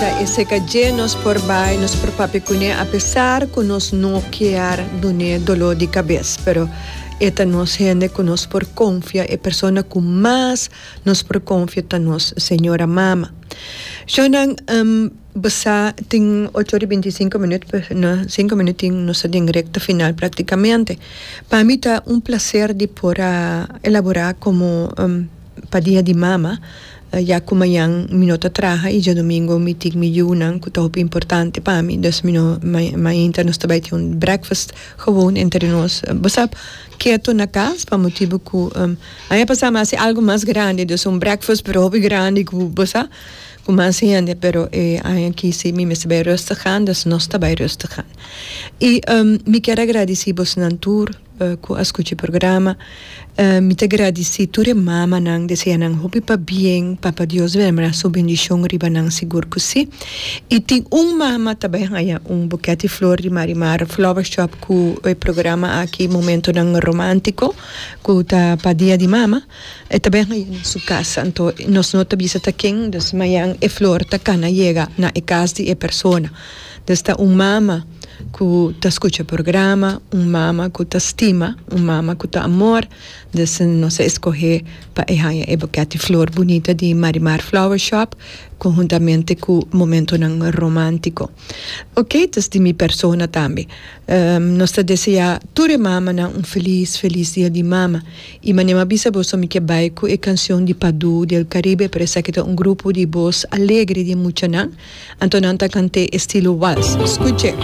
ta e seka dje nos por bai, nos por papia kuné apesar ku nos no kier dun'é doló di kabes, pero e ta nos hende ku nos por konfia, e persona ku mas nos por konfia ta nos señora mama. Shownan bo sa tin ocho ora i binti i sinku minüt, na sinku minüt tin nos ta den rekta final praktikamente. Pa mi ta un plaser di por a elaborá komo pa dia di mama. Ya ku mañan mi no ta traha i djadumingu mi tin mi yunan ku ta hopi importante pa mi, dus mi no mainta nos ta bai tin un breakfast gewoon entre nos. Bo sa keto na kas pa motibu ku aña pasá mi a hasi algu mas grandi, dus un breakfast pero hopi grandi ku bo sa ku mas hende, pero e aña aki si mi mester bai rustig aan, dus nos ta bai rustig aan. I mi kier a gradisí bosnan tur. Ku a skucha e programa. Mi ta gradisí tur e mamanan, desea nan hopi pabien, Papa Dios dermra su bendishon riba nan sigur ku si. I tin un mama ta bai haña un buket di flor di Marimar Flower Shop ku e programa aki Momentonan Romántico ku ta pa dia di mama, e ta bai haña na su kas. Anto nos no ta bisa ta ken, dus mañan e flor ta kana yega na e kas di e persona. Dus ta un mama ku ta skucha programa, un mama ku ta stima, un mama ku ta amor. Dus nos a eskohé pa e haña e buket di flor bunita di Marimar Flower Shop konhuntamente ku momentonan romántiko. Oke, dus di mi persona tambe. Nos ta deseá tur e mamanan un felis, felis dia di mama. I manera mi a bisa boso mi ke bai ku e kansion di Padu del Caribe, pero esaki ta un grupo di bos alegre di muchanan. Anto nan ta kant'é estilo wals. Skuch'é.